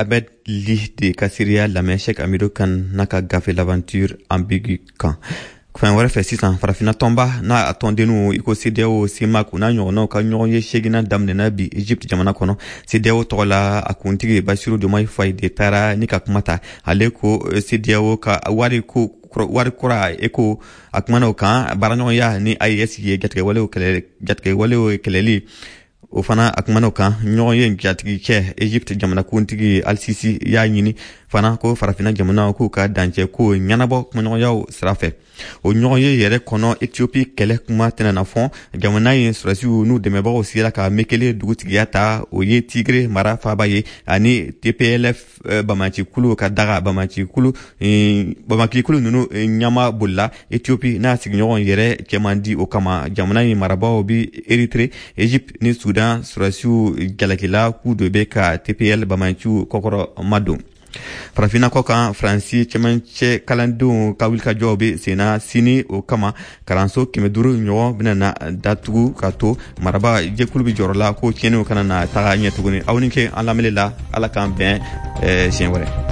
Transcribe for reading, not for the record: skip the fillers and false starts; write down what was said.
Ahmed Ly de ka seereya lamɛn Cheikh Amidu kan n'a ka gafe L'aventure ambiguë kan. Fan wɛrɛ fɛ sisan, Farafina tɔnba n'a a tɔndenninw i ko CEDEAO, CEMAC, u n'a ɲɔgɔnnaw ka ɲɔgɔn ye seginna daminɛna bi Egypte jamana kɔnɔ. CEDEAO tɔgɔ la, a kuntigi Basiru Diomaye Faye de taara ni ka kuma ta. Ale ko CEDEAO ka wari ko wari kura eko, a kumana o kan. Baaraɲɔgɔnya ni AES ye, jatigɛwalew kɛlɛli, o fana a kumana o kan. Ɲɔgɔn ye jatigicɛ Egypte jamanakuntigi Al-Sisi y'a ɲini fana ko Farafina jamanaw k'u ka dancɛ ko ɲɛnabɔ kumaɲɔgɔnyaw sira fɛ. O ɲɔgɔn ye yɛrɛ kɔnɔ, Ethiopie kɛlɛ kuma tɛna na fɔ. Jamana in sɔrɔdasiw n'u dɛmɛbagaw sera ka Mekele dugutigiya ta, o ye Tigre mara faaba ye, ani TPLF bamancikulu ka daga. Bamancikulu ninnu ɲama bolila. Ethiopie n'a sigiɲɔgɔn yɛrɛ cɛman di. O kama, jamana in marabaaw bi Eritre, Egypte ni Sudan sɔrɔdasiw jalakila k'u de bɛ ka TPL bamanciw kɔkɔrɔ madon. Farafinna kɔ kan, Faransi cɛmancɛ kalandenw ka wulikajɔw bɛ senna sini. O kama, kalanso 500 ɲɔgɔn bɛna na datugu ka to maraba jɛkulu bɛ jɔrɔ la ko tiɲɛniw kana na taga ɲɛ tuguni. Aw ni ce an lamɛnni la. Ala k'an bɛn siɲɛ wɛrɛ.